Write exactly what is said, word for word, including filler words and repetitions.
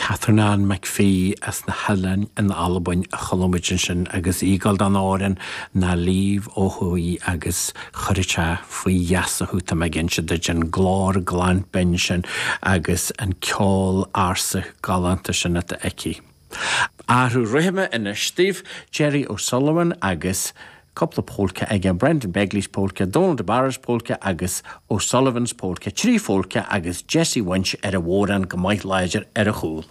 Catherine Ann McPhee as na hOileáin in Albain a chuala muid ansin agus í ag gabháil don amhrán Ná Leave ó Thuaidh agus chuirfeadh sé faoi gheasa thú tá mé ag inse duit an glór glan binn sin agus an ceol ársa galánta sin atá aici. Athrú rithime anois daoibh Jerry O'Sullivan agus cúpla polca aige Brendan Begley's polka, Donald de Barra's polka agus O'Sullivan's polka, trí pholca agus Jesse Wynch ar an bhodhrán go maith láidir ar a chúl.